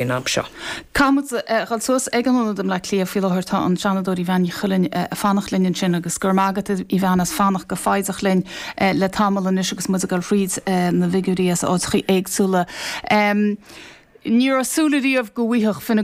Faoin am seo. Caithfidh muid a dhul suas ag an Ionad i mBleá Cliath faoi láthair. Tá an Seanadóir Evanne Ní Chuilinn ag fanacht linn ansin agus go raibh maith agat a Evanne as fanacht go foighdeach linn le tamall anois agus muid ag dul thríd na bhfigiúirí as áiteachaí éagsúla. Ní raibh súil ariamh go bhfaigheadh Fine.